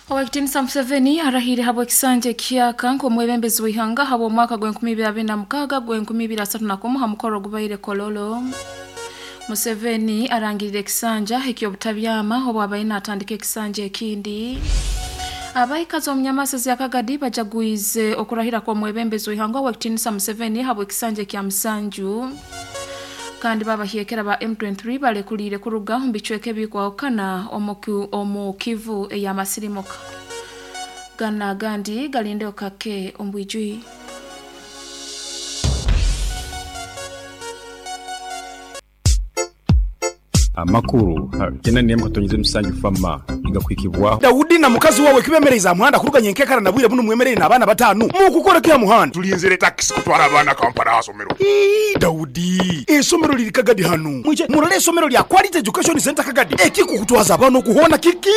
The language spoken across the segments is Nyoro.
Owekitinisa Museveni arahiire habw'ekisanja ekihyaka nk'omwebembezi w'ihanga habw'omwaka gw'e2026 gw'e2031 ha mukoro ogubaire Kololo. Museveni arangirire ekisanja eky'obutabyama obu abaire natandika ekisanja ekindi. Abaikazi omu nyamaso za Kagadi bajagwize okurahira kw'omwebembezi w'ihanga Owekitinisa Museveni habw'ekisanja ekya musanju. Kandi babahyekera ba M23 balekuliire kuruga omu bicweka ebikwahukana omu Kivu ey'amasirimuka. Gana agandi galindeho kake omu bwijwire. Amakuru ha kyenda n'emu katonyeza emisanju Fama nigakuhikibwaho. Daudi na mukazi wawe kibemereize aha muhanda kuruga nyenkekara na bwire bunu mwemereire n'abaana batanu. Mukukora ki aha muhanda? Tulinzire takisi kutwara abaana Kampala aha somero. Ii, Daudi, eisomero liri Kagadi hanu. Mwije murole eisomero lya Quality Education Centre Kagadi. Ekikukutwaza abaana oku hoona kiki?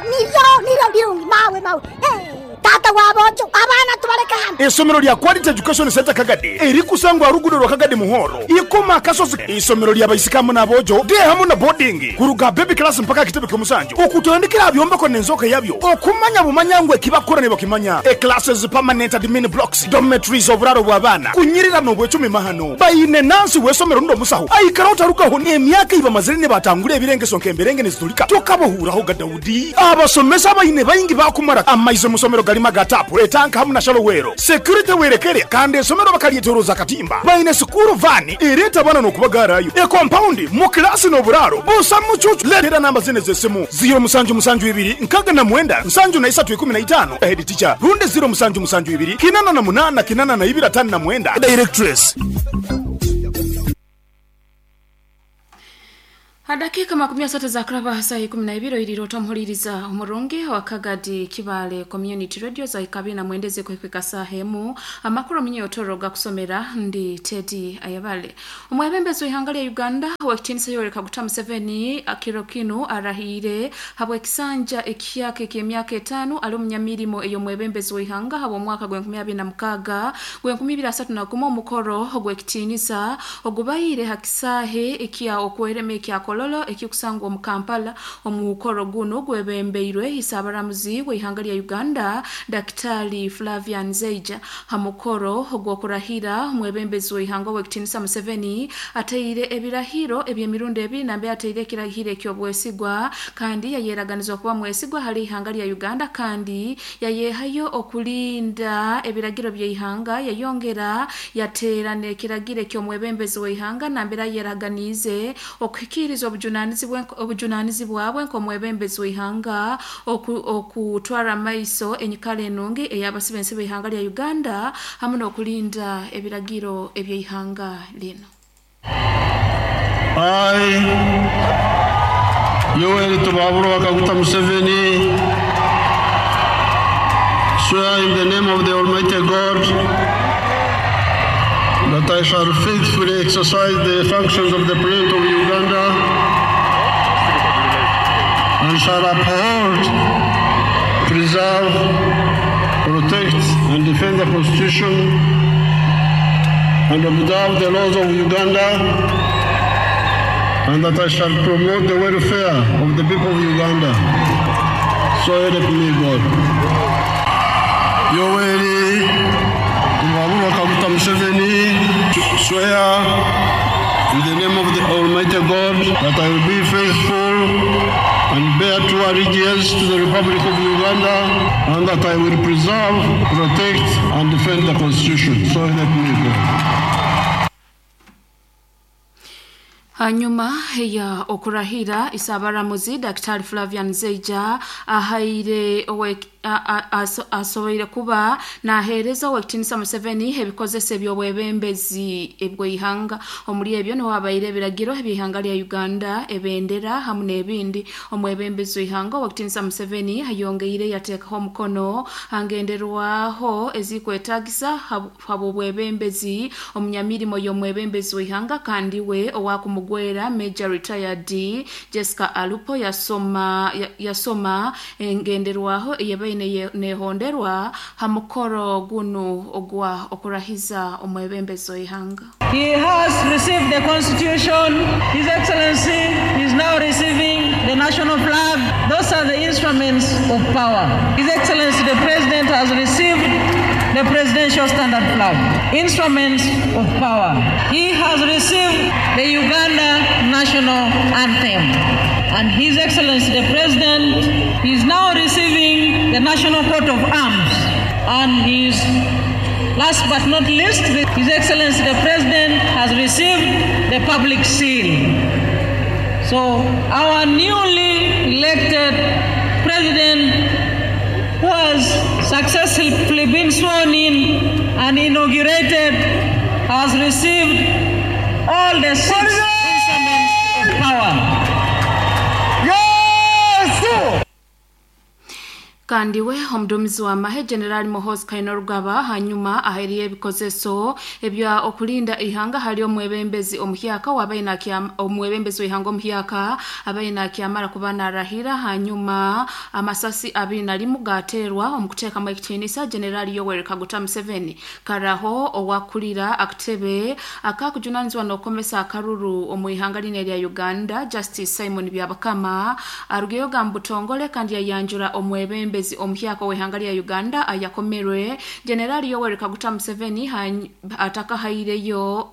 Niryo, niryo birungi, mawe, mawe. Taata w'aboojo, abaana tubaleke hanu. Eisomero lya Quality Education Centre Kagadi erikusangwa aha ruguudo rwa Kagadi Muhoro, Ikoma Akasozi. Eisomero lya baisiki hamu n'aboojo, day hamu na boarding, kuruga aha baby class mpaka aha kitebe ky'omusanju, okutandikira aha byombeko n'enzooka yabyo, okumanya bumanya ngu eki bakukora nibakimanya. E Classes, permanent admin blocks, dormitories, oburaaro bw'abaana, kunyirira n'obwecumi mahano. Baine nansi w'eisomero rundi omusaho aikaraho tarugaho n'emyaka ei bamazire nibatangura ebirengeso nk'emberenge nizitulika. Tokabahuuraho ga Daudi. Abasomesa abaine baingi baakumara amaizi omu somero garimu aga taapu, etanka hamu na shalowero. Security werekere kandi esomero bakaryetoroza akatimba. Baine sikuuru vaani ereeta abaana n'okubagaarayo. Ekompaundi, mu kilaasi n'oburaaro busa mucuucu. Leetera namba zinu ez'esimu, ziiro musanju musanju ibiri nkaga na mwenda nsanju na isatu ikumi na itaano, Head teacher, rundi ziiro musanju musanju ibiri kinana na munaana kinana na ibiri ataano na mwenda, Directress. Ha dakiika makumi asatu ezakuraba aha saaha ikumi na ibiri oiriire ota omuhuriiriza omurungi owa Kagadi Kibaale Community Radio zahika abiri na mwenda ezikuhika saaha emu. Amakuru omunye-Otoro gakusomera ndi Teddy Ayebale. Omwebembezi w'eihanga lya Uganda Owekitiinisa Yoweri Kaguta Museveni kiro kinu arahiire habw'ekisanja ekihyaka eky'emyaka etaano ali omunyamirimo ey'omwebembezi w'eihanga habw'omwaka gw'enkumi abiri na mukaaga gw'enkumi ibiri asatu na gumu omukoro ogw'ekitiinisa ogubaire ha kisaahe ekya Okwerema ekya Kololo ekikusangwa omu Kampala. Omukoro gunu gwebembeirwe Isaabaramuzi w'eihanga lya Uganda Dakitali Flavian Zeija. Ha mukoro ogw'okurahira omwebembezi w'eihanga Owekitiinisa Museveni ataire ebirahiro eby'emirundi ebiri nambere ataire ekirahiro eky'obwesigwa kandi yayeraganiza okuba mwesigwa hali ihanga lya Uganda kandi yayehayo okulinda ebiragiro by'eihanga yayongera yateera n'ekiragiro eky'omwebembezi w'eihanga nambere ayeraganiize okuhikiiriza obujunanizibwa bwe nk'omwebembezi w'eihanga okutwara amaiso enyikara enungi ey'abasibe ensi b'eihanga lya Uganda hamu n'okulinda ebiragiro eby'eihanga linu. I, Yoweri Tibuhaburwa Kaguta Museveni, swear in the name of the Almighty God that I shall faithfully exercise the functions of the President of Uganda and shall uphold, preserve, protect, and defend the Constitution and observe the laws of Uganda, and that I shall promote the welfare of the people of Uganda. So help me God. Yoweri Tibuhaburwa Kaguta Museveni, swear in the name of the Almighty God that I will be faithful and bear true allegiance to the Republic of Uganda, and that I will preserve, protect, and defend the Constitution. So help me God. Hanyuma ya okurahira Isaabaramuzi Daktari Flavian Zeija ahaire asoboire kuba naheereza Owekitiinisa Museveni ebikozesa eby'obwebembezi ebw'eihanga. Omuri ebyo niho habaire ebiragiro eby'eihanga lya Uganda, ebendera hamu n'ebindi. Omwebembezi w'eihanga Owekitiinisa Museveni ayongeire yateekaho omukono ha ngenderwaho ezikwetagisa habw'obwebembezi omunyamirimo y'omwebembezi w'eihanga kandi we owakumugwera Major Retired Jessica Alupo yasoma engenderwaho eyebaine nehonderwa ha mukoro gunu ogwa okurahiza omwebembezi w'eihanga. He has received the Constitution. His Excellency is now receiving the national flag. Those are the instruments of power. His Excellency the President has received the presidential standard flag, instruments of power. He has received the Uganda national anthem. And His Excellency the President is now receiving the national coat of arms. And his last but not least, His Excellency the President has received the public seal. So our newly elected president, who has successfully been sworn in and inaugurated, has received all the six instruments of power. Kandi we omudumizi wa mahe General Muhoozi Kainerugaba hanyuma aheriye ebikozeso ebya okulinda ihanga hali omwebembezi omuhyaka wabaina omwebembezi w'ihanga omuhyaka abaina kyamara kuba narahira. Hanyuma amasasi 21 gaterwa omukuteeka ekitiinisa General Yoweri Kaguta Museveni karaho owakulira akatebe akakujunanizwa n'okukomesa akaruru omu ihanga line lya Uganda Justice Simon Byabakama arugeyo gambutongole kandi yayanjura omwebembezi omuhyaka w'ihanga lya Uganda ayakomerwe General Yoweri Kaguta Museveni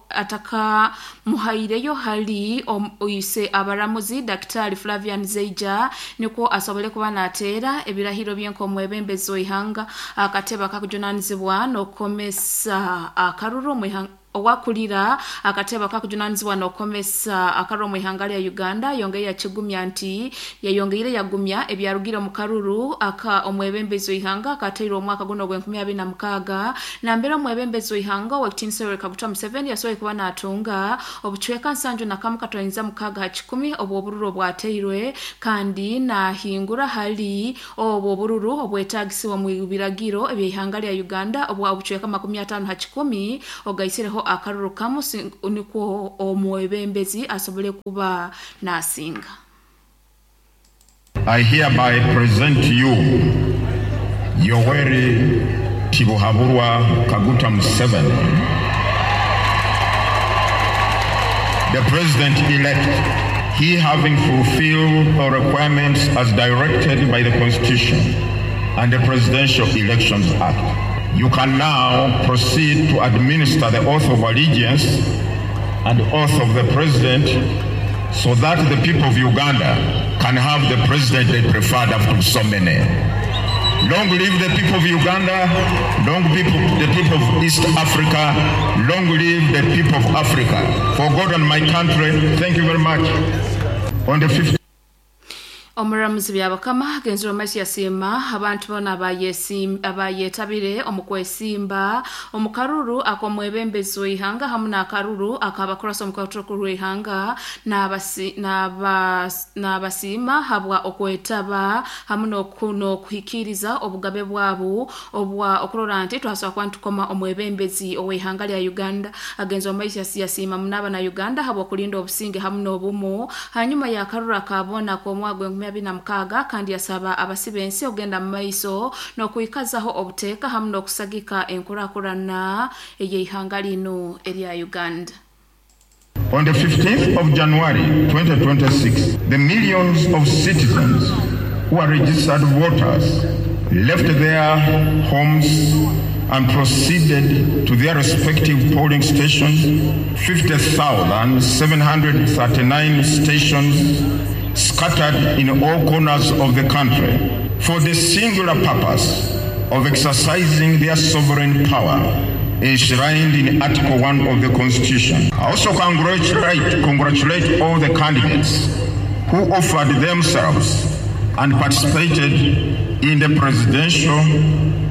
ataka muhaireyo hali oise abaramuzi Daktari Flavian Zeija niko asobole kuba nateera ebirahiro byenko omwebembezi w'ihanga akatebe akakujunanizibwa n'okukomesa akaruru mu ihanga owakulira akatebe akakujunanizibwa n'okukomesa akaruru mu ihanga lya Uganda yongeye yakigumya nti yayongeire yagumya ebyarugira mu karuru aka omwebembezi w'ihanga akateirwe omwaka guno gwe 2026 nambere omwebembezi w'ihanga owekitiinisa Yoweri Kaguta Museveni yasoboye kuba natunga obucweka 71.6 obwo obururu obwateirwe kandi nahingura hali obwo obururu obwetagisibwa mu biragiro eby'ihanga lya Uganda obwa obucweka 50 ogaisireho akaruru kamu niko omwebembezi asobole kuba nasinga. I hereby present to you Yoweri Tibuhaburwa Kaguta Museveni, the president-elect, he having fulfilled all requirements as directed by the Constitution and the Presidential Elections Act. You can now proceed to administer the oath of allegiance and the oath of the president so that the people of Uganda can have the president they preferred after so many. Long live the people of Uganda, long live the people of East Africa, long live the people of Africa. For God and my country, thank you very much. On the 15th. Omuramuzi Byabakama genzero maiso yasiima abantu bona abayetabire omukwesimba omukaruru akomwebembezi w'ihanga hamu n'akaruru akabakurasa omukwaturo w'ihanga n'abasiima habwa okwetaba hamu n'okuhikiriza obugabe bwabo obwa okurora nti twasobola kuba ntukoma omwebembezi ow'ihanga lya Uganda. Agenzero maiso yasiima munaba na Uganda habwa okulinda obusinge hamu n'obumu hanyuma y'akaruru akabona k'omwaka 2026 kandi yasaba abasibensi ogenda mu maiso n'okwikazaho obuteeka hamu n'okusagika enkurakurana ey'ihanga lino erya Uganda. On the 15th of January 2026, the millions of citizens who are registered voters left their homes and proceeded to their respective polling stations, 50,739 stations scattered in all corners of the country, for the singular purpose of exercising their sovereign power enshrined in Article 1 of the Constitution. I also congratulate all the candidates who offered themselves and participated in the presidential,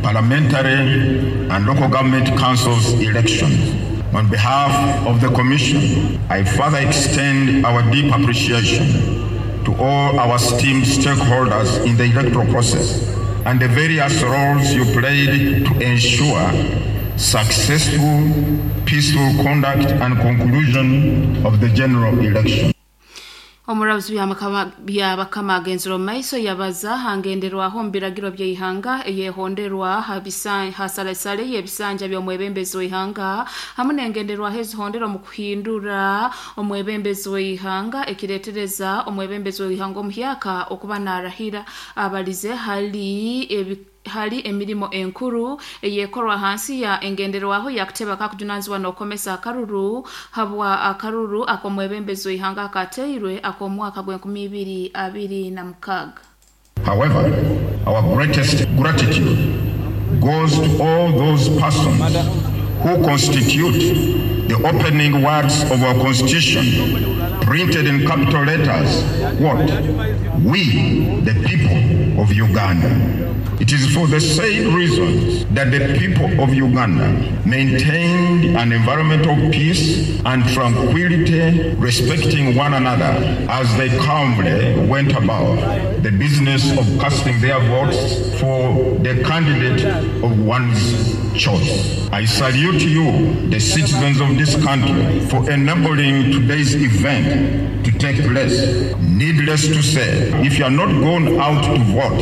parliamentary, and local government councils elections. On behalf of the Commission, I further extend our deep appreciation to all our esteemed stakeholders in the electoral process and the various roles you played to ensure successful, peaceful conduct and conclusion of the general election. Omurabuzi Byabakama agenzire omu maiso yabaza hangenderwaho omu biragiro by'eihanga eyehonderwa hasalesale y'ebisanja by'omwebembezi w'eihanga hamu n'engenderwaho ezihondera omu kuhindura omwebembezi w'eihanga ekireetereza omwebembezi w'eihanga omuhyaka okuba naarahira. Abalize hali emirimo enkuru eyekorwa hansi ya engenderwaho yakuteba kakujunanizibwa n'okukomesa akaruru habwa akaruru ak'omwebembezi w'eihanga akateirwe ak'omwaka gw'e2026. However, our greatest gratitude goes to all those persons who constitute the opening words of our Constitution, printed in capital letters, what? We, the people of Uganda. It is for the same reasons that the people of Uganda maintained an environment of peace and tranquility, respecting one another as they calmly went about the business of casting their votes for the candidate of one's choice. I salute you, the citizens of this country, for enabling today's event to take place. Needless to say, if you are not going out to vote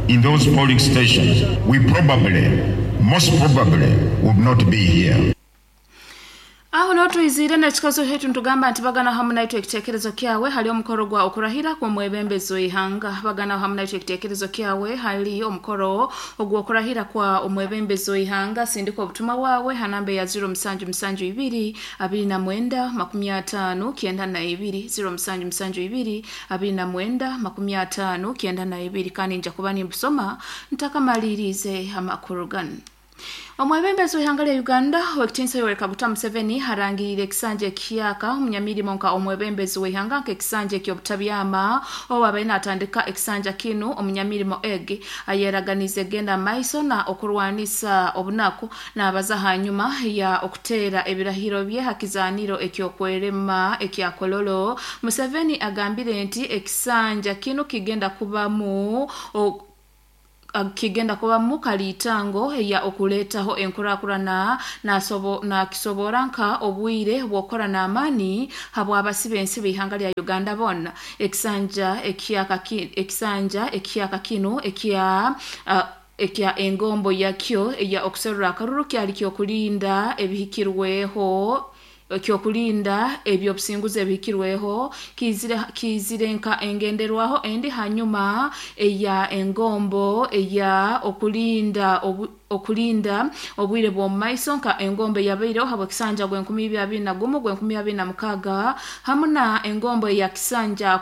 in those polling stations, we probably, most probably, would not be here. Aho notwizire n'ekikazo hetu ntugamba nti bagana hamu naitwe ekiteekerezo kyawe hali omukoro gwa okurahira kw'omwebembezi w'eihanga. Bagana hamu naitwe ekiteekerezo kyawe hali omukoro ogw'okurahira kwa omwebembezi w'eihanga. Sindika obutumwa bwawe ha namba ya 0772 29 50 92, 0772 29 50 92, kandi nja kuba nimbusoma ntakamalirize amakuru ganu. Omwebembezi w'ihanga lya Uganda w'ekitinisa Yoweri Kaguta Museveni harangirire ekisanja ekiyaka omunyamirimo nka omwebembezi w'ihanga nk'ekisanja eky'obutabyama obu abaire natandika ekisanja kinu. Omunyamirimo egi ayeraganize genda maiso na okurwanisa obunaku. Nabaza hanyuma ya okuteera ebirahiro bye ha kizaaniro eky'okwerema ekya Kololo. Museveni agambire nti ekisanja kinu kigenda kubamu kaliitango ya okuleetaho enkurakurana, nakisobora nka obwire bw'okukora n'amaani habw'abasiba ensi b'ihanga lya Uganda boona. Ekisanja ekiyaka kinu ekya engombo yakyo eya okuserura akaruru kyali kyokulinda ebihikirweho, ekyokulinda ebyobusinguzi ebihikirweho, kiizire nka engenderwaho endi hanyuma eya engombo eya okulinda obwire bw'omu maiso nka engombo eyabaireho habw'ekisanja gw'e2021 gw'e2026 hamu na engombo eya kisanja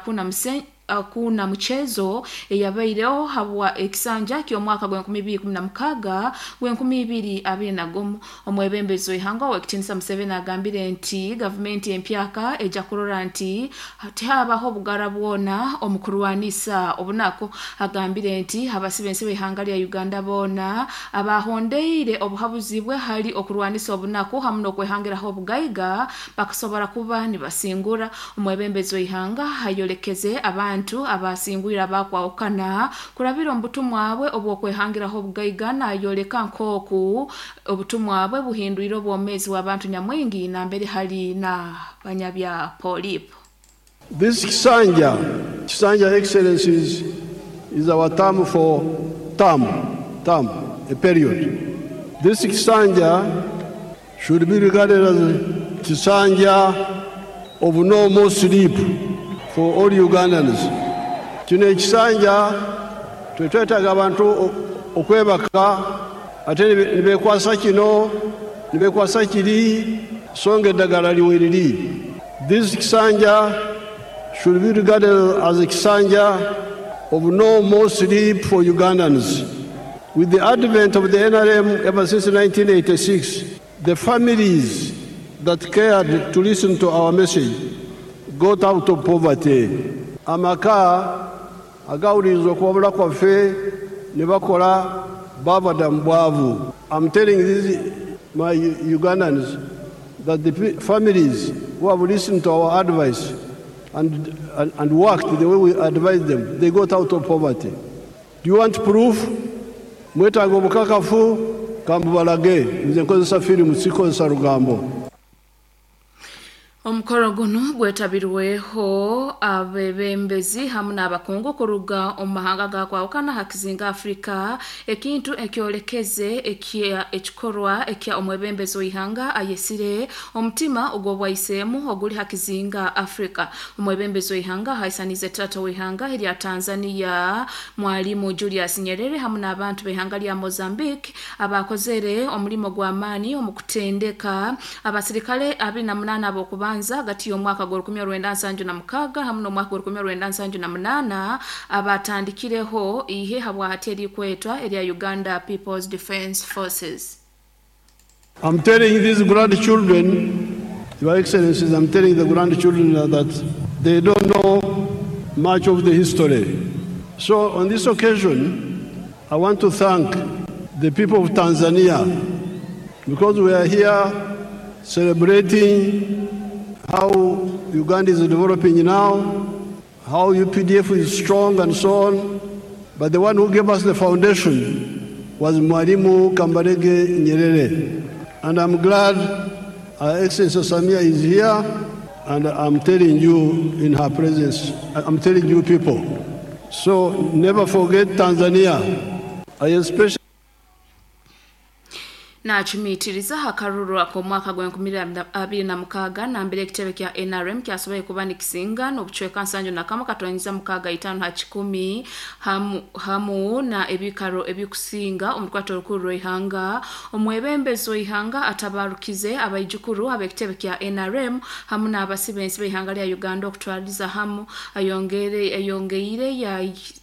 kuna muchezo eyabaireho habwa ekisanja ky'omwaka gw'e2016 gw'e2021. Omwebembezi w'ihanga ow'ekitinisa Museveni agambire nti gavumenti empyaka ejja kurora nti tihabaho obugara bwona omu kurwanisa obunaku. Agambire nti abasiba ensi b'ihanga lya Uganda boona abahondeire obuhabuzi bwe hali okurwanisa obunaku hamu n'okwehangiraho obugaiga bakasobora kuba nibasingura. Omwebembezi w'ihanga ayolekeze abantu abasingwire abakwahukana kurabira omu butumwa bwe obw'okwehangiraho obugaiga, nayoleka nk'oku obutumwa bwe buhindwire obwomeezi bw'abantu nyamwingi nambere hali na banyabya polipo. This Kisanja, Kisanja Excellencies, is our term for term, term, a period. This Kisanja should be regarded as Kisanja of no more sleep for all Ugandans. Kino ekisanja twetwetaaga abantu okwebaka ate ne beekwasa kino ne beekwasa kiri, so nga eddagala liwe liri. This Kisanja should be regarded as a Kisanja of no more sleep for Ugandans. With the advent of the NRM ever since 1986, the families that cared to listen to our message got out of poverty. Amaka agawuliriza okuwabula kwaffe ne bakola bava dda mu bwavu. I'm telling these my Ugandans that the families who have listened to our advice and worked the way we advised them, they got out of poverty. Do you want proof? Mwetaaga obukakafu? Kambubalage. Nze nkozesa firimu, sikozesa lugambo. Omukoro guno gwetabirweho abebembezi hamu n'abakungu kuruga omu mahanga gakwahukana ha kizinga Afrika, ekintu ekyolekeze ekikorwa ekya omwebembezi w'ihanga ayesire omutima ogw'obwaiseemu oguli ha kizinga Afrika. Omwebembezi w'ihanga haisanize tata w'ihanga erya Tanzania Mwalimu Julius Nyerere hamu n'abantu b'ihanga lya Mozambique abakozere omulimo gw'amaani omu kutendeka abasirikale 28 ab'okubanza hagati y'omwaka gwa 1976 hamu n'omwaka gwa 1978 abatandikireho ihe habwahati erikwetwa erya Uganda People's Defence Forces. I'm telling these grandchildren, Your Excellencies, I'm telling the grandchildren that they don't know much of the history. So on this occasion, I want to thank the people of Tanzania, because we are here celebrating how Uganda is developing now, how UPDF is strong and so on. But the one who gave us the foundation was Mwalimu Kambarage Nyerere. And I'm glad Her Excellency Samia is here, and I'm telling you in her presence, I'm telling you people. So never forget Tanzania. I especially Nachumitiriza hakaruru ak'omwaka gwa 2026 nambere ekitebe kya NRM kyasoboye kuba nikisinga n'obucweka 71.65 ha kikumi hamu na ebikaro ebikusinga omukwato olukuru rw'ihanga. Omwebembezi w'ihanga atabarukize abaijukuru ab'ekitebe kya NRM hamu n'abasibensi b'ihanga lya Uganda okutwaliza hamu ayongeire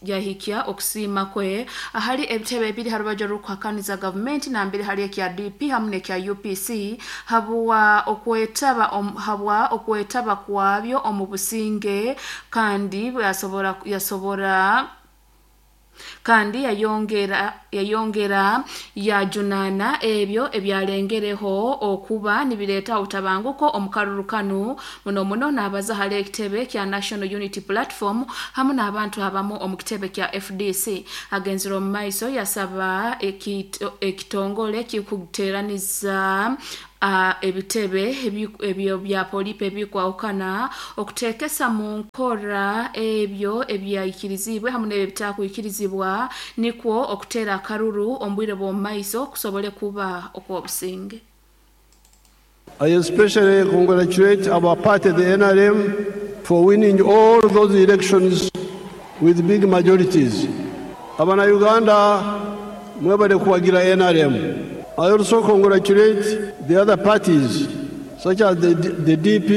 yahikya okusiima kwe ahali ebitebe ebiri ha rubaju rw'okuhakaniza gavumenti nambere hali ekya DP hamu n'ekya UPC habwa okwetaba kwabyo omu businge, kandi yasobora kandi yayongera yajunana ebyo ebyalengereho okuba nibireeta obutabanguko omu karuru muno muno n'abaza hali ekitebe kya National Unity Platform hamu n'abantu abamu omu kitebe kya FDC. Agenzire omu maiso yasaba ekitongole kikuteraniza ebitebe ebyo bya polipe ebikwahukana okuteekesa mu nkora ebyo ebyayikirizibwe hamu n'ebyo bitakwikirizibwa, nikwo okuteera akaruru omu bwire bw'omu maiso kusobole kuba okw'obusinge. I especially congratulate our party, the NRM, for winning all those elections with big majorities. Abana Uganda mwebale kuwagira NRM. I also congratulate the other parties, such as the DP,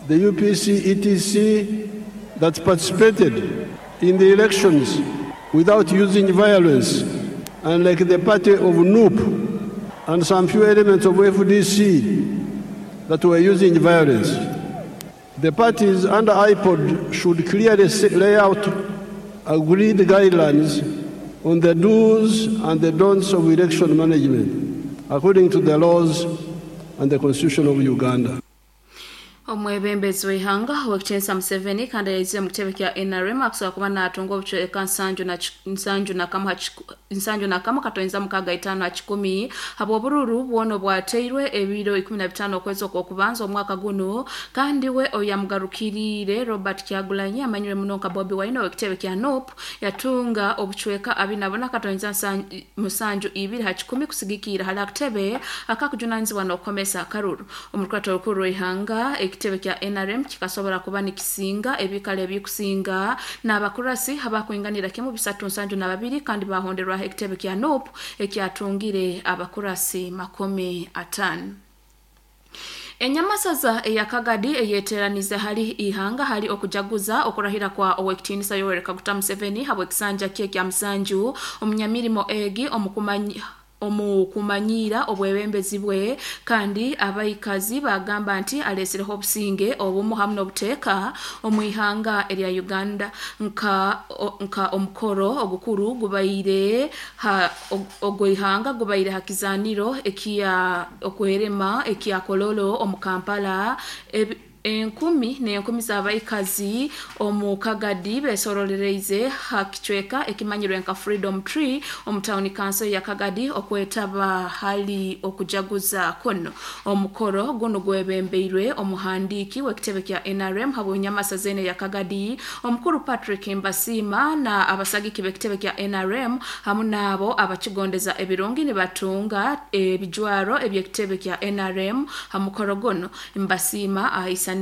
the UPC, ETC, that participated in the elections without using violence, and like the party of NUP and some few elements of FDC that were using violence. The parties under IPOD should clearly lay out agreed guidelines on the do's and the don'ts of election management, according to the laws and the Constitution of Uganda. Omwebembezi w'ihanga Owekitiinisa Museveni kandi yaizire mu kitebe kya NRM akusobola kuba n'atunga obucweka 71.65 ha kikumi habw'obururu bwona obwateirwe ebiro 15 okwezi okw'okubanza omwaka guno, kandi we oyamugarukiriire Robert Kyagulanyi amanyire muno nka Bobi Wine ow'ekitebe kya NUP yatunga obucweka 24.72 ha kikumi kusigikiira hali akatebe akakujunanizibwa n'okukomesa akaruru. Omukurato olukuru rw'ihanga ekitebe kya NRM kikasobora kuba nikisinga ebikala ebikusinga n'abakurasi abakwinganira kimu 372 kandi bahonderwaho ekitebe kya NUP ekyatungire abakurasi 50. Enyamasaza eya Kagadi eyeteranize hali ihanga hali okujaguza okurahira kwa Owekitiinisa Yoweri Kaguta Museveni habw'ekisanja kye kya musanju omunyamirimo egi omukumanyira obwebembezi bwe, kandi abaikazi bagamba nti alesireho obusinge obumu hamu n'obuteeka omu ihanga erya Uganda. Nka omukoro ogukuru gubaire ogw'ihanga gubaire ha kizaniro ekya okwerema ekya Kololo omu Kampala. Enkumi n'enkumi z'abaikazi omu Kagadi besorolereize ha kicweka ekimanyirwe nka Freedom Tree omu tawuni kanso ya Kagadi okwetaba hali okujaguza kuno. Omukoro guno gwebembeirwe omuhandiiki w'ekitebe kya NRM habw'enyamasa zene ya Kagadi, omukuru Patrick Mbasiima na abasagiki b'ekitebe kya NRM hamu n'abo abakigondeza ebirungi nibatunga ebijwaro eby'ekitebe kya NRM ha mukoro guno. Mbasiima ahaisaniize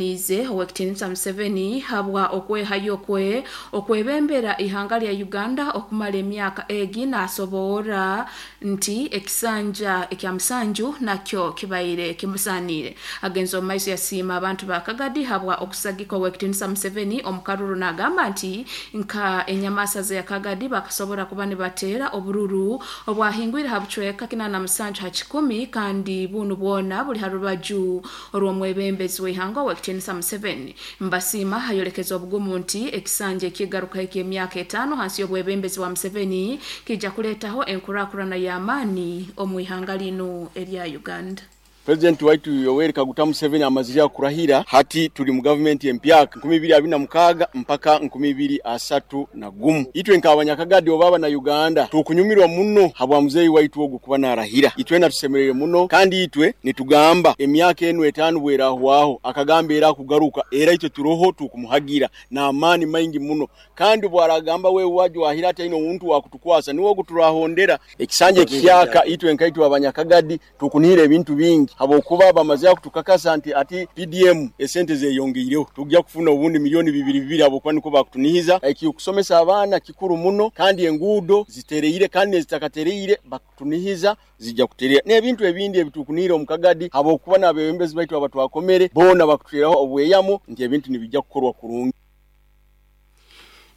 Owekitinisa Museveni habwa okwehayo kwe okwebembera ihanga lya Uganda okumara emyaka egi nasoboora nti ekisanja ekya musanju nakyo kibaire kimusaaniire. Agenze omu maiso yasiima abantu ba Kagadi habwa okusagika Owekitinisa Museveni omu karuru nagamba nti nka enyamasa za Kagadi bakasobora kuba nibateera obururu obwahingwire ha bucweka 87 ha kikumi kandi bunu bwona buli ha rubaju orw'omwebembezi w'ihanga Owekitinisa Museveni. Mbasiima ayolekeza obugumu nti ekisanja ekigaruka eky'emyaka 5 hansi y'obwebembezi bwa Museveni kijja kuleetaho enkurakurana y'amaani omu ihanga linu erya Uganda. President waitu Yoweri Kaguta Museveni amazire kurahira, hati tuli mu gavumenti empyaka 2026 mpaka 2031. Itwe nk'abanyakagadi oba abana Uganda tukunyumirwa muno habwa muzeyi waitu ogu kuba narahira. Itwe natusemerere muno kandi itwe nitugamba emyaka enu 5 bwerahwaho akagamba era kugaruka era itwe turoho tukumuhagira na amani maingi muno, kandi bwaragamba we waje wahira ati ino muntu wakutukwasa niwo guturahondera ekisanje kihyaka. Itwe nkaitwe abanyakagadi tukunira ebintu bingi habokuba bamaze kutukakasa nti ati PDM esente zeyongeireho tujja kufuna obundi milioni 2 habokuba niko bakutunihiza. Ekikusomesa abaana kikuru muno kandi enguudo zitereire kandi nezitakatereire bakutunihiza zijja kuterera n'ebintu ebindi ebitukunira omukagadi habokuba n'abebembezi baitu abatwakomere bona bakuteraho obweyamo nti ebintu nibijja kukorwa kurungi.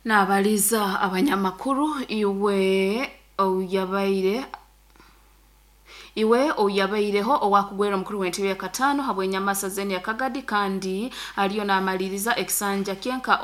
Nabaliza abanyamakuru iwe oyabaireho owakugwera omukuru w'entebe ya katano habw'enyamasa zene ya Kagadi kandi aliyo n'amaliriza ekisanja kyenka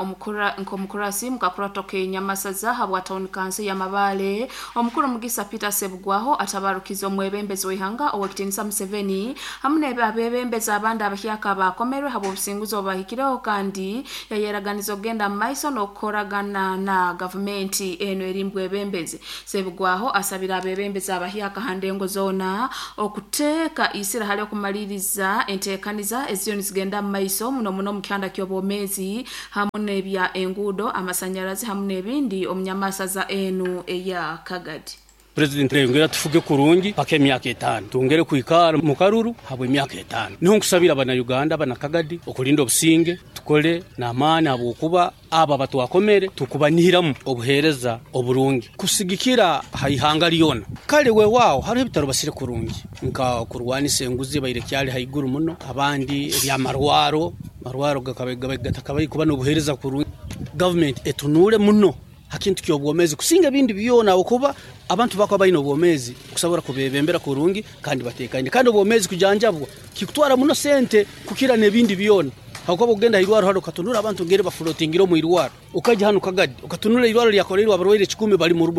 nk'omukurasi mukakurato k'enyamasa za habwa town council ya Mabale, omukuru Mugisa Peter Sebugwaho atabarukiza omwebembezi w'ihanga Owekitinisa Museveni hamu n'abebembezi abandi abahyaka abakomerwe habw'obusinguzi obubahikireho kandi yayeraganiza okugenda mu maiso n'okukoragana na gavumenti eno eri mbwebembezi. Sebugwaho asabira abebembezi abahyaka ha ndengo zoona okuteeka isira hali okumaliriza enteekaniza eziyo nizigenda mu maiso muno muno mu kyanda ky'obwomeezi hamu n'ebya enguudo, amasanyarazi hamu n'ebindi omu nyamasa enu eya Kagadi. President yongera tufuge kurungi paka emyaka 5 tungere kuikara mu karuru habwe emyaka 5. Niho nkusabira abana Uganda abana Kagadi okulinda obusinge tukole n'amaani habwokuba aba batwakomere tukubanihiramu obuhereza oburungi kusigikira haihanga lyona. Kale weewaawo hariho ebitaro basire kurungi nka kurwanisa enguzi baire kyali haiguru muno, abandi ebyamarwaro marwaro gatakabaye kuba n'obuhereza kurungi. Government etunule muno hakintu ky'obwomezi kusinga ebindi byona okuba abantu bakwa bayina obwomezi kusobora kubebembera kurungi kandi batekaine, kandi obwomezi kujanjabwa kikutwara muno sente kukira n'ebindi byona. Hakuba ogenda irwaro hano katunura abantu ngere bafulotingira mu irwaro, ukaja hano Kagadi ukatunura irwaro lyakolerwa abarwaire 10 bali mu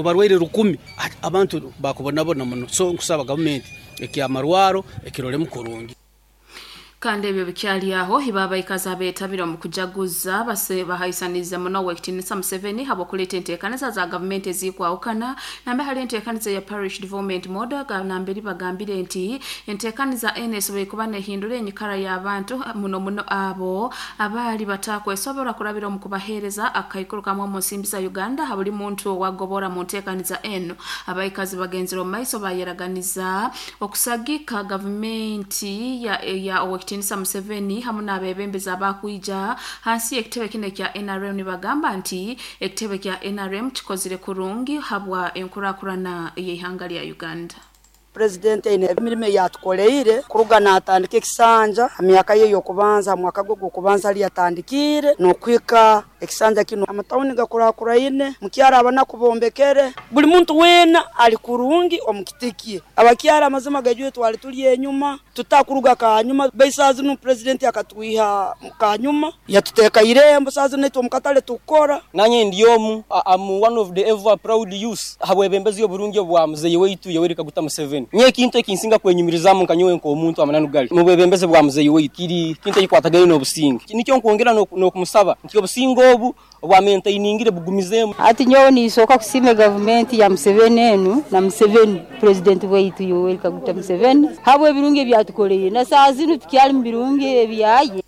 barwaire 10 abantu bakubonabona muno. So nkusaba government ekyamarwaro ekirolemu kurungi. Kandi ebyo bikyali aho hibabaikazi abeetabira omu kujaguza bahaisaniza muno Owekitinisa Museveni habw'okuleeta enteekaniza za gavumenti ezikwawukana nambe hali enteekaniza ya Parish Development Model namberi bagambire nti enteekaniza eno esoboire kuba nehindura enyikara y'abantu muno muno abo abaali batakwesobora kurabira omu kubaheereza akaikuru kamwe omu nsimbi za Uganda ha buli muntu owagobora mu nteekaniza eno. Abaikazi bagenzire omu maiso bayeraganiza okusagika gavumenti ya Owekitinisa Museveni hamu n'abebembezi abakwija hansi y'ekitebe kino ekya NRM nibagamba nti ekitebe kya NRM kikozire kurungi habwa enkurakurana y'ihanga lya Uganda. President ine emirimo yatukoleire kuruga natandika ekisanja emyaka ye yokubanza mwaka gwe gw'okubanza ali yatandikire nokwika ekisanja kino amatawuni gakurakuraine mukyara abana kubombekere buli muntu wena ali kurungi omukitikie abakyara amazima gajwe twali tuli enyuma tutakuruga kanyuma beisazi no president akatwiha kanyuma yatuteka irembo sazi netu omukatale tukora nanye ndiomu am one of the ever proud youth habwebembezi oburungi obwa muzeyi waitu Yoweri Kaguta Museveni. Museveni. Nyowe ekintu ekinsinga kwenyumirizaamu nka nyowe nk'omuntu amananu gali mu bwebembezi bwa muzeeyi waitu kiri kintu ekikwatagaine n'obusinge. Nikyo nkwongera n'okumusaba nti obusinge obu obu amaintainingire bugumizeemu. Hati nyowe ninsooka kusiima gavumenti ya Museveni enu na Museveni purezidenti waitu Yoweri Kaguta Museveni habw'ebirungi ebi atukoleire na saaha zinu tukyali mu birungi ebyaye.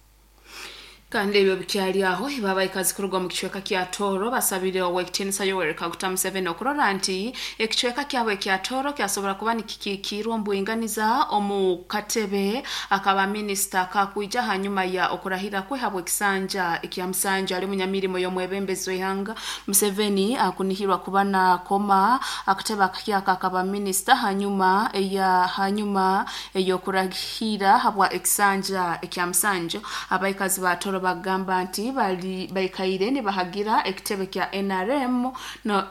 Kandi ebyo bikyali aho, ibo abaikazi kuruga omu kicweka kya Tooro basabire Owekitinisa Yoweri Kaguta Museveni okurora nti ekicweka kyabo ekya Tooro kyasobora kuba nikikikiirwa omu bwinganiza omu katebe akaba minisita akakwija hanyuma ya okurahira kwe habw'ekisanja ekya musanju ali munyamirimo y'omwebembezi w'ihanga Museveni akunihirwa kuba nakoma akatebe akahyaka akaba minisita hanyuma eya hanyuma ey'okurahira habwa ekisanja ekya musanju. Abaikazi ba Tooro bagamba nti bali baikaire nibahagira ekitebe kya NRM no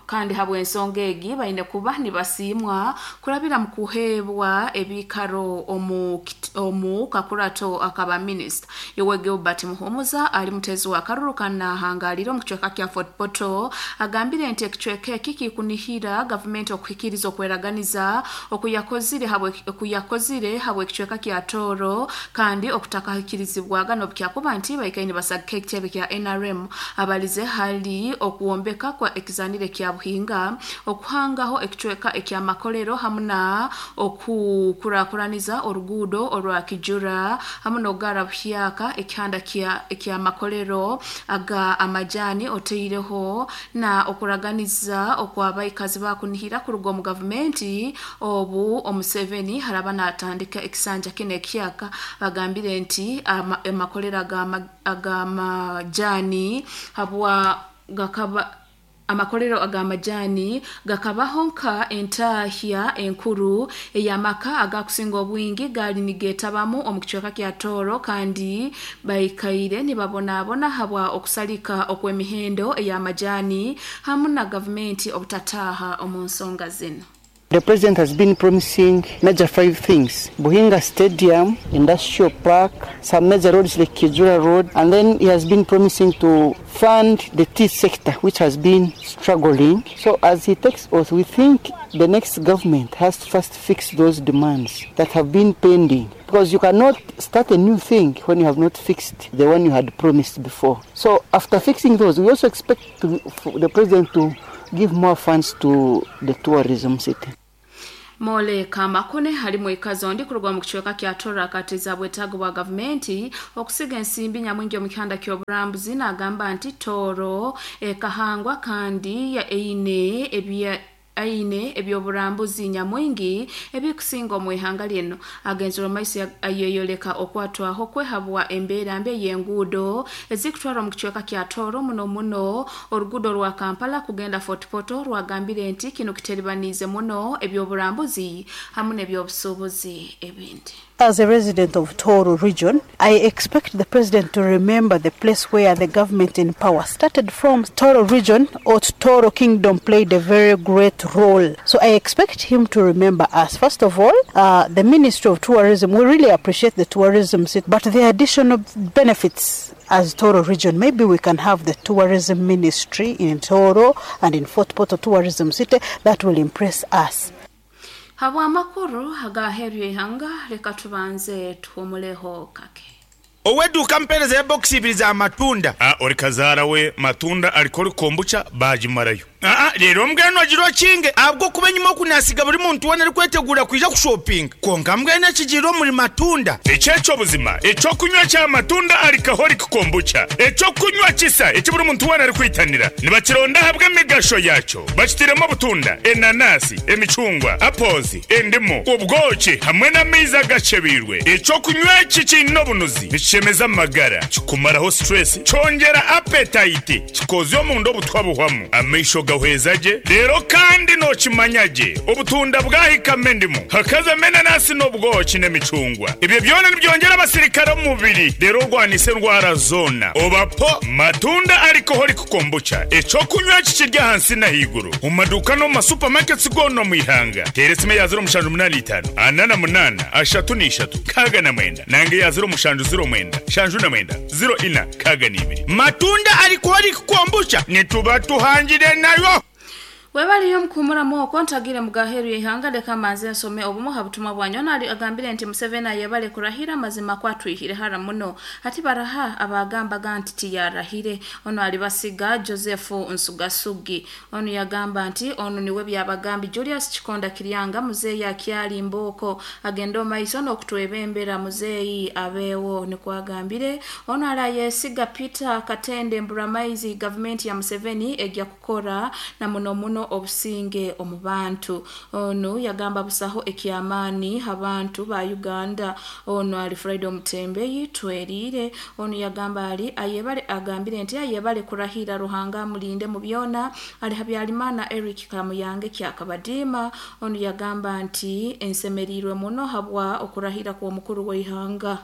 kandi habw'ensonga egi baine kuba nibasiimwa kurabira mu kuheebwa ebiikaro omu omu kakurato akaba minisita. Yowe Gilbert Muhumuza ali mutezi wa karuru kanahangalire omu kicweka kya Fort Portal agambire nti ekicweka eki kikunihira gavumenti okuhikiriza okweraganiza okuyakozire habwe okuyakozire habw'ekicweka kya Tooro kandi okutakahikirizibwaga n'obukyakuba nti baikaire nibasagika ekitebe kya NRM. Abalize hali okwombeka kwa ekizanire kya Buhinga, okuhangaho ekicweka eky'amakolero hamu na okukurakuraniza oruguudo orwa Kijura hamu n'okugara buhyaka ekihanda kya eky'amakolero aga amajani otaireho na okuraganiza okw'abaikazi bakunihira kuruga omu gavumenti obu Omuseveni haraba natandika ekisanja kinu ekihyaka. Bagambire nti amakolero ag'amajani habwa gakaba amakolero ag'amajani gakabaho nka entahya enkuru ey'amaka agakusinga obwingi gaali nigeetabamu omu kicweka kya Tooro kandi baikaire nibabonabona habwa okusalika okw'emihendo ey'amajani hamu na gavumenti obutataaha omu nsonga zinu. The president has been promising major 5 things: Buhinga Stadium, Industrial Park, some major roads like Kijura Road, and then he has been promising to fund the tea sector, which has been struggling. So as he takes oath, we think the next government has to first fix those demands that have been pending, because you cannot start a new thing when you have not fixed the one you had promised before. So after fixing those, we also expect for the president to give more funds to the tourism city. Mole Kamakune ali mwikazi ondi kuruga mu kicweka kya Tooro akatiza bwetaago bwa gavumenti okusiga ensimbi nyamwingi omu kihanda ky'oburambuzi n'agamba nti Tooro ekahangwa kandi eine ebya aine ebyoburambuzi nyamwingi ebikusinga omu ihanga lino. Agenzera maiso ayeyoleka okwatwaho kwehabwa embeera mbi ey'enguudo ezikutwara omu kicweka kya Tooro muno muno oruguudo rwa Kampala kugenda Fort Portal rwagambire nti kino kiteribaniize muno ebyoburambuzi hamu n'ebyobusuubuzi ebindi. As a resident of Tooro region, I expect the president to remember the place where the government in power started from. Tooro region or Tooro Kingdom played a very great role. So I expect him to remember us. First of all, the Ministry of Tourism, we really appreciate the tourism, but the additional benefits as Tooro region, maybe we can have the tourism ministry in Tooro and in Fort Portal Tourism City that will impress us. Habwa amakuru agaheerwa ihanga leka tubanze tuhumuleho kake. Oweduuka mpeereza ya bokisi ibiri za matunda. Ori kazaara we matunda alikora kombucha baagimarayo. Reero mbwenu ogira okinge ahabw'okuba enyima oku naasiga buri muntu weena arikwetegura kwija kushopinga. Kwonka mbwenu ekigiire omuri matunda. Eki eky'obuzima, eky'okunywa kya matunda alcoholic kombucha. Eky'okunywa kisa eki buri muntu weena arikwitanira. Nibakironda ahabw'emigasho yaakyo. Bakitairemu obutunda, enanasi, emicungwa, apples, endimu, obwoki hamwe n'amaizi agakyebeirwe. Eky'okunywa eki kiine obunuzi, nikishemeza amagara, kikumaraho stress, kyongyera appetite, kikozya omunda obutwa buhwamu, amaisho gahweza gye, reero kandi nookimanya gye obutunda bwahikamu endimu, hakazamu enanasi n'obwoki n'emicungwa. Ebyo byona nibyongyera abasirikare omu mubiri, reero orwanise endwara zoona. Oba po matunda alcoholic kombucha, eky'okunywa eki kiri ahansi n'ahaiguru omu maduuka n'omu ma supermarkets goona omu ihanga. Teera esimu eya 0785 48 33 69 nanga eya 0709 79 04 62. Matunda alcoholic kombucha nituba tuhangire nayo. Webaliyo mukuhumuramu okwo ntagire mugaheru y'ihanga leka manze nsome obumu ha butumwa bwanyu. Ono agambire nti Museveni ayebale kurahira mazima kwatwihire hara muno hati baraha abagambaga nti tiyarahire. Ono alibasiga Joseph Nsugasugi. Ono yagamba nti ono niwe byabagambi Julius Kikonda Kiryanga muzeeyi akyali mbooko agenda omaiso n'okutwebembera muzeeyi abeewo nikwagambire. Ono alayesiga Peter Katende Mburamaizi gavumenti ya Museveni ejja kukora na muno muno obusinge omu bantu. Ono yagamba busaho ekyamaani abantu ba Uganda. Ono ali Friday Omutembeyi twerire. Ono yagamba ali ayebale agambire nti ayebale kurahira Ruhanga amulinde mu byona. Ali Habyarimana Eric Kamuyange Kyakabadima. Ono yagamba nti ensemerirwe muno habwa okurahira kw'omukuru w'ihanga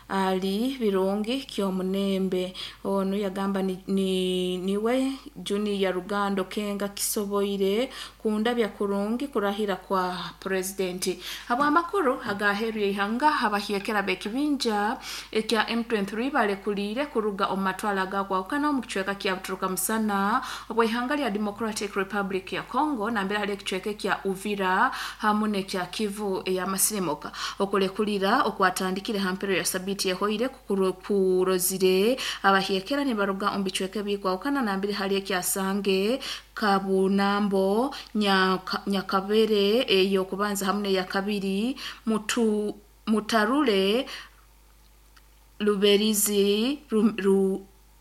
ali Birungi Kyomunembe. Ono yagamba niwe Junior Rugando Kenga kisoboire kundabya kurungi kurahira kwa presidenti. Habwa amakuru agaheru y'ihanga abahyekera bekibinja ekya M23 balekulire kuruga omu matwala gakwawukana omu kicweka kya Buturuka Musana obw'ihanga lya Democratic Republic ya Congo nambere hali ekicweka kya Uvira hamu n'ekya Kivu ey'amasirimuka. Okulekulira okwatandikire ha mpero ya sabiti yehoire kurozire abahyekera nibaruga omu bicweka ebikwawukana nambere hali ekyasange Kabunambo Nyakabere eyokubanza hamu n'eyakabiri Mutarule Luberizi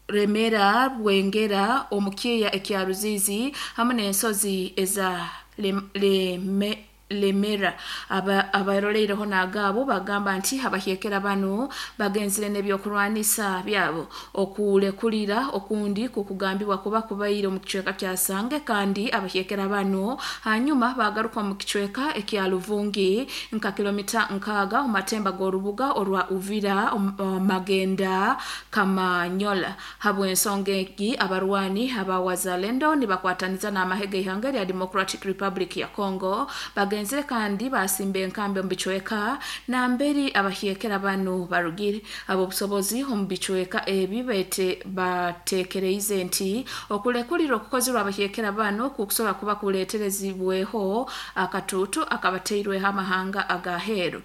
Remera Bwengera omukiya ekya Ruzizi hamu n'ensozi eza Lemera. Abaroleireho n'agaabo bagamba nti abahyekera bano bagenzire n'ebyokurwanisa byabo. Okulekulira okundi kukugambibwa kuba kubaire omu kicweka kya Sange kandi abahyekera bano hanyuma bagaruka omu kicweka ekya Luvungi nka kilomita 6 omu matemba g'orubuga orwa Uvira Magenda Kamanyola. Habw'ensonga egi abarwani aba Wazalendo nibakwataniza n'amahe g'ihanga lya Democratic Republic ya Congo bagenzire kandi basimba enkambi omu bicweka namberi abahyekera bano barugire. Abo busobozi omu bicweka ebi batekereize nti okulekulira okukozerwa abahyekera bano kukusobola kuba kuleeterezibweho akatuutu akabateirweho amahanga agaheeru.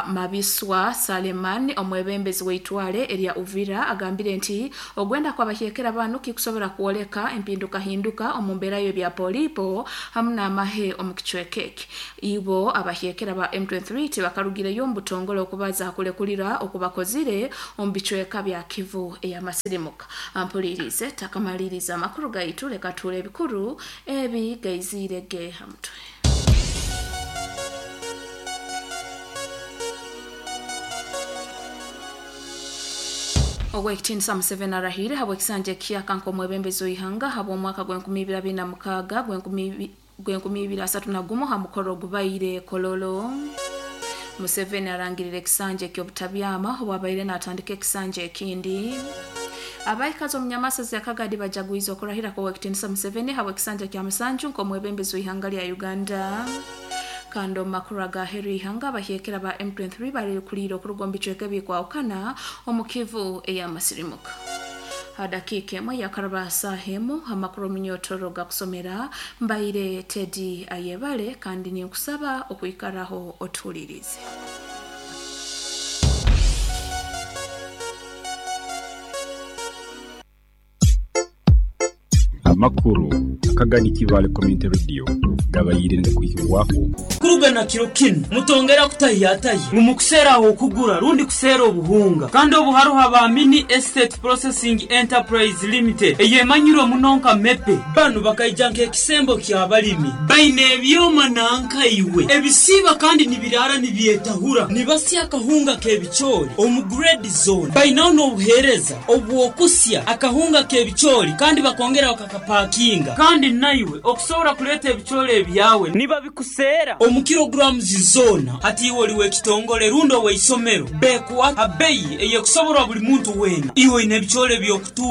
Mabiswa Saleman omwebembezi w'eitwale erya Uvira agambire nti ogwenda kw'abahyekera bano kikusobola kwoleka empindukahinduka omu mbeera y'ebya polipo hamu n'amahe omu kicweka eki. Ibo abahyekera ba M23 tibakarugireyo omu butongole okubaza kulekulira okubakozire omu bicweka bya Kivu ey'amasirimuka. Ampulirize takamaliriza amakuru gaitu leka tuule ebikuru ebi gaiziire ge ha mutwe. Ogw'ekitiinisa Museveni arahire habw'ekisanja ekiyaka nk'omwebembezi w'ihanga habw'omwaka gw'enkumi ibiri asatu na gumu ha mukoro ogubaire Kololo. Museveni arangirire ekisanja eky'obutabyama obwabaire n'atandika ekisanja ekindi. Abaikazi omu nyamasazi ya Kagadi bajagwize okurahira kw'owekitiinisa Museveni habw'ekisanja kya musanju nk'omwebembezi w'ihanga lya Uganda. Kandi omu makuru agaheru y'ihanga abahyekera ba M23 barekuliire okuruga omu bicweka ebikwawukana omu Kivu ey'amasirimuka. Hadakiika emwe yakaraba saaha emu amakuru omunyotoro gakusomera mbaire Teddy Ayebale kandi ninkusaba okwikaraho otuhulirize. Amakuru Akagadi Kibale Community Radio gabayire ngakuhibwako kuruga na kiro kinu mutongera kutahiyatahi mumukusera aho kugura rundi kusera obuhunga kandi obuharuha ba Mini Estate Processing Enterprise Limited eyemanyirwe munonka mepe banu bakaija nk'ekisembo ky'abalimi baine ebyoma nankaiwe ebisiba kandi nibirara nibyetahura nibasya akahunga k'ebicoori omu grade zone bainaho n'obuheereza obw'okusya akahunga k'ebicoori kandi bakongera bakakapakinga kandi naiwe okusobola kuleeta ebicoori ebyawe niba bikuseera omu kilograms zona hati iwe oli w'ekitongole rundi ow'eisomero bekuwa abeyi eyekusoborwa buli muntu weena iwe oine ebicoori ebyokutu.